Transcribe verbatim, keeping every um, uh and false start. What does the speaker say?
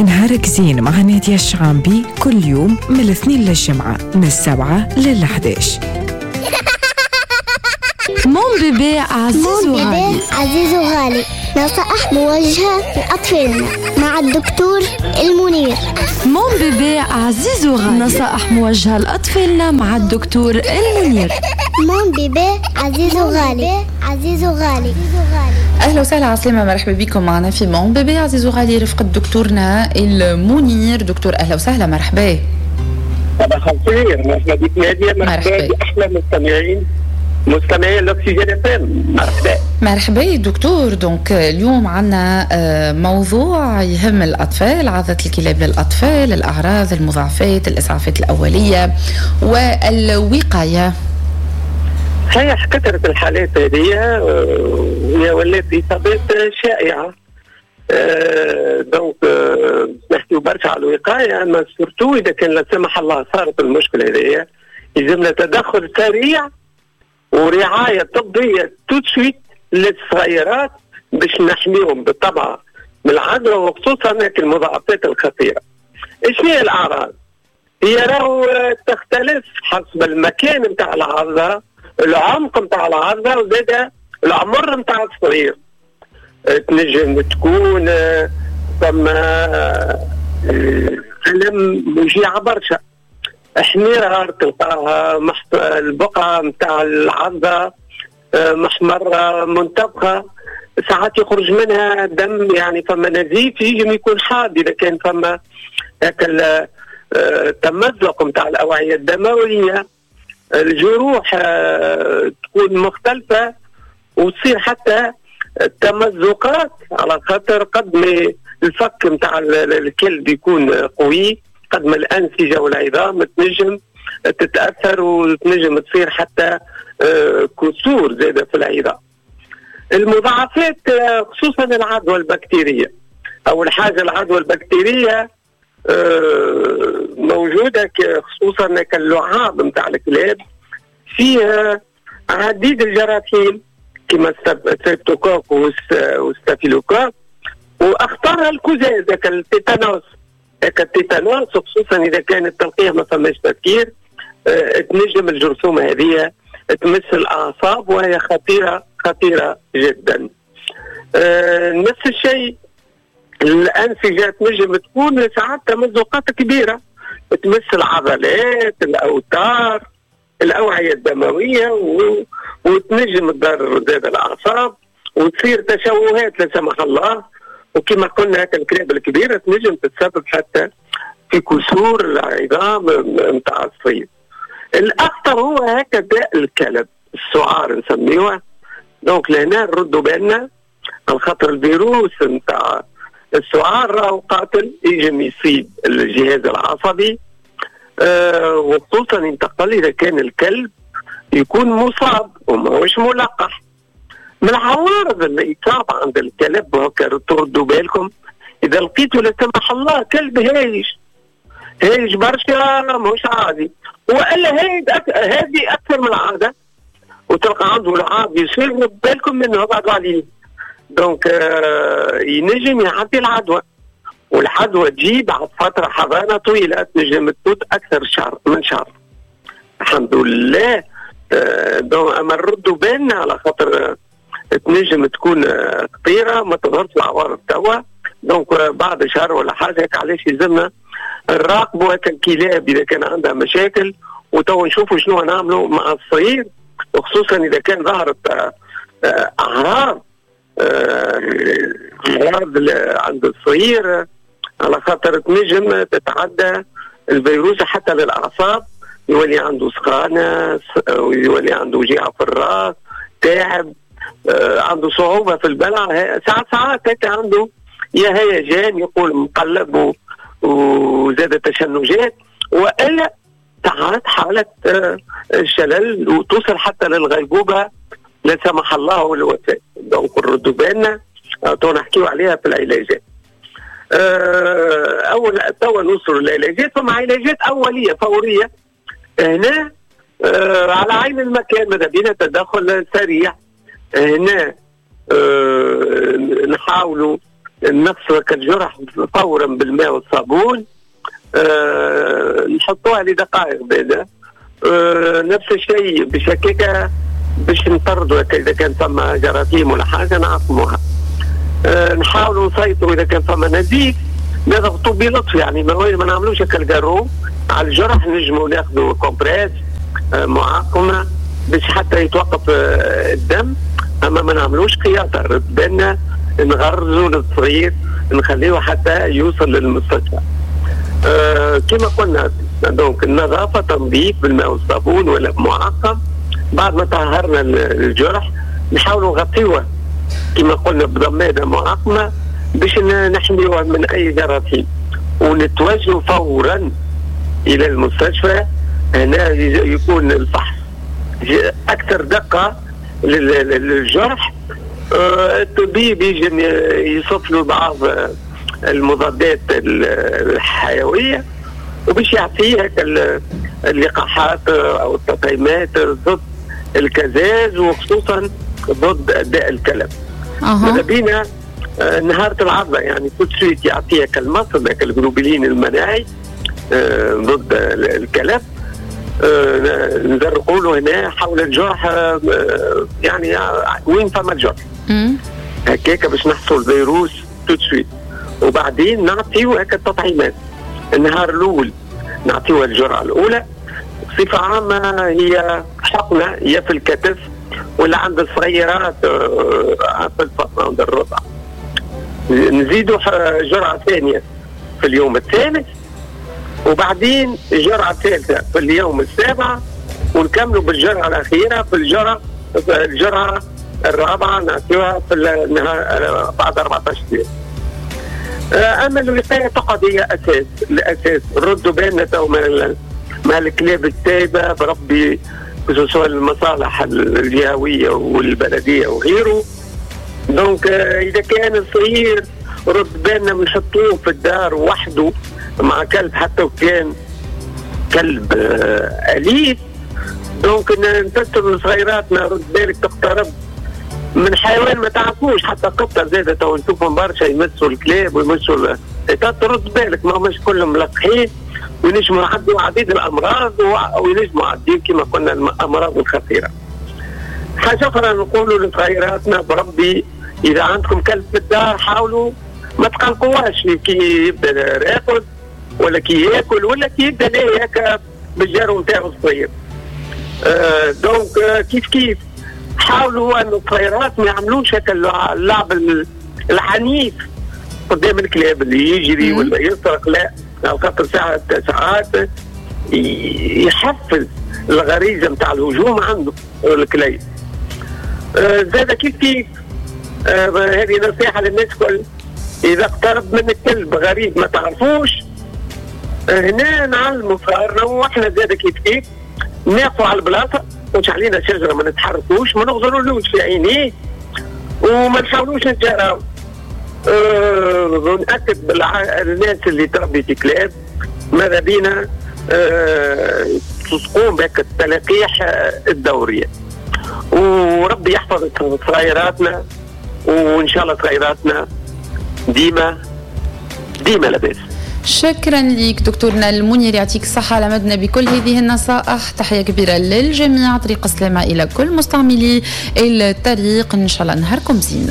نهارك زين مع نادية الشعامبي كل يوم من الاثنين للجمعة من السبعة للحداش. mon bébé عزيز وغالي. عزيز وغالي، نصائح موجهة لأطفالنا مع الدكتور المنير. mon bébé عزيز وغالي، نصائح موجهة لأطفالنا مع الدكتور المنير. mon bébé عزيز وغالي، عزيز وغالي. اهلا وسهلا، عسلامة، مرحبا بكم معنا في mon bébé عزيز وغالي رفقة دكتورنا المنير. دكتور اهلا وسهلا، مرحبا. صباح الخير، مرحبا بك نادية، مرحبا باحلى مستمعين مستمعين الاكسجين اف ام، مرحبا. مرحبا دكتور. donc اليوم عندنا موضوع يهم الاطفال، عضة الكلاب للاطفال، الاعراض، المضاعفات، الاسعافات الاولية والوقاية. صحيح، كثرة الحالات هذه هي ولات اصابات شائعة. donc نحكيو برشا على الوقاية، اما surtout اذا كان لا سمح الله صارت المشكلة هذه يلزمنا تدخل سريع ورعاية طبية tout de suite للصغيرات باش نحميهم بالطبع من العدوى، وخصوصا المضاعفات الخطيرة. ايش هي الاعراض؟ هي راهو تختلف حسب المكان نتاع العضه، العمق نتاع العضه، وزاد العمر نتاع الصغير. تنجم تكون ثم ألم وجيعة برشا، حميرة تلقاها محط... البقعة نتاع العضة محمرة منتفخة، ساعات يخرج منها دم، يعني فما نزيف يجم يكون حاد إذا كان فما هاك التمزق نتاع الأوعية الدموية. الجروح تكون مختلفة وتصير حتى التمزقات، على خاطر قد ما الفك نتاع الكلب يكون قوي قد ما الأنسجة والعظام تنجم تتأثر وتنجم تصير حتى كسور زادة في العظام. المضاعفات خصوصا العدوى البكتيرية. أول حاجة العدوى البكتيرية موجودة خصوصا كاللعاب نتاع الكلاب، فيها عديد الجراثيم كما streptocoque وال staphylocoque، واخطرها الكزاز التيتانوس. التيتانوس خصوصا اذا كان التلقيح ما فماش تفكير، تنجم الجرثومه هذه تمس الاعصاب وهي خطيرة خطيرة جدا. نفس الشيء الانسجة تنجم تكون ساعات تمزقات كبيرة تمس العضلات، الاوتار، الاوعية الدموية، و... وتنجم تضر زاد الاعصاب وتصير تشوهات لا سمح الله. وكما قلنا هكا الكلاب الكبيرة تنجم تتسبب حتى في كسور العظام نتاع الصيد. الاخطر هو هكا داء الكلب، السعار نسميوه. donc لهنا نردوا بالنا على خاطر الفيروس نتاع السعار راهو قاتل، يجم يصيب الجهاز العصبي، أه وخصوصا ينتقل اذا كان الكلب يكون مصاب وماهوش ملقح. من العوارض الاصابة عند الكلب وهكا تردوا بالكم اذا لقيتوا لا سمح الله كلب هايج هايج برشا ماهوش عادي، والا هايج أك... هادي اكثر من العادة وتلقى عنده العاب يصير، بالكم منه ابعدوا عليه. donc آه ينجم يعدي العدوى، والعدوى تجي بعد فترة حضانة طويلة تنجم تفوت اكثر شهر من شهر. الحمد لله. آه donc اما نردوا بالنا على خاطر تنجم تكون خطيرة ما تظهرش العوارض توا، donc بعد شهر ولا حاجة. هيك علاش يلزمنا نراقبوا هكا الكلاب اذا كان عندها مشاكل، وتوا نشوفوا شنو نعملوا مع الصغير، وخصوصا اذا كان ظهرت اعراض اعراض عند الصغير، على خاطر تنجم تتعدى الفيروس حتى للاعصاب، يولي عنده سخانه، ويولي عنده وجيعه في الراس، تعب، عنده صعوبة في البلع، ساعات ساعات هيك عنده يا هيجان يقول مقلب وزاد تشنجات، والا ساعات حاله شلل وتوصل حتى للغيبوبه لا سمح الله والوفاه. donc نردوا بالنا تو نحكيو عليها في العلاجات. اول توا نوصلوا للعلاجات، فما علاجات اوليه فورية هنا على عين المكان، ماذا بينا تدخل سريع هنا. أه نحاولوا نغسلوا الجرح فورا بالماء والصابون، أه نحطوها لدقائق بعد. أه نفس الشيء باش هكاك باش نطردوا اذا كان ثم جراثيم ولا حاجة نعقموها. أه نحاولوا نسيطروا اذا كان ثم نزيف نضغطوا بلطف، يعني ما ما نعملوش هكا ال garrot على الجرح، نجموا ناخذوا compresse أه معقمه باش حتى يتوقف أه الدم، اما ما نعملوش خياطة، بالنا نغرزوا للصغير نخليه حتى يوصل للمستشفى. أه كما قلنا donc النظافة، تنظيف بالماء والصابون ولا بمعقم. بعد ما طهرنا الجرح نحاولوا نغطيوه كما قلنا بضماده معقمه باش نحميوه من اي جراثيم، ونتوجهوا فورا الى المستشفى. هنا يكون الفحص اكثر دقه للجرح. الطبيب يجي يصف له بعض المضادات الحيوية وباش يعطيه اللقاحات او التطعيمات ضد الكزاز وخصوصا ضد داء الكلب. ماذا بينا نهار العضه يعني tout de suite يعطيك المصل الجلوبولين المناعي ضد الكلب، نزرقوا له هنا حول الجرح، يعني وين فما الجرح هكاك باش نحصل الفيروس tout de suite. وبعدين نعطيو هكا التطعيمات. النهار الاول نعطيوها الجرعة الاولى بصفة عامة هي حقنه يا في الكتف ولا عند الصغيرات في الفطنة عند الرضع. نزيدوا جرعة ثانية في اليوم الثالث، وبعدين جرعة ثالثة في اليوم السابع، ونكملوا بالجرعه الاخيرة في الجرعة الجرعة الرابعة نعطيوها في النهار بعد أربعة عشر يوم. اما الوقاية تقعد هي اساس الاساس. ردوا بالنا تو من مع الكلاب السايبه بربي، خصوصا المصالح الجهوية والبلديه وغيره. donc اذا كان الصغير رد بالنا نحطوه في الدار وحده مع كلب حتى وكان كلب اليف. donc نفسر لصغيراتنا رد بالك تقترب من حيوان ما تعرفوش، حتى قطة زاده تو نشوفهم برشا يمسوا الكلاب ويمسوا، ترد بالك ما هماش كلهم ملقحين وينجموا يعدوا عديد الامراض وينجموا عديد كما قلنا الامراض الخطيرة. حاجة اخرى نقولوا لصغيراتنا بربي اذا عندكم كلب في الدار حاولوا ما تقلقوهاش كي يبدا راقد ولا كي ياكل ولا كي يبدا ليه هكا بالجارو نتاعو الصغير. آه donc كيف كيف حاولوا ان الصغيرات ما يعملوش هكا اللعب العنيف قدام الكلاب اللي يجري ولا يسرق، لا، خاطر ساعات ساعات يحفز الغريزة نتاع الهجوم عنده الكلاب. آه زاد كيف كيف آه هذه نصيحة للناس كل، اذا اقترب من الكلب غريب ما تعرفوش آه هنا نعلموا صغارنا واحنا زاد كيف كيف نقفوا على البلاصة، مش علينا شجرة ما نتحركوش، ما نغزرولوش في عينيه وما نحاولوش نتجاراو. أه نأكد بالناس اللي تربي في كلاب ماذا بينا أه تقوم بك التلقيح الدورية، وربي يحفظ صغيراتنا وان شاء الله صغيراتنا ديما ديما لاباس. شكرا لك دكتورنا المنير، يعطيك الصحة على مدنا بكل هذه النصائح. تحية كبيرة للجميع، طريق السلامة إلى كل مستعملي الطريق، إن شاء الله نهاركم زين.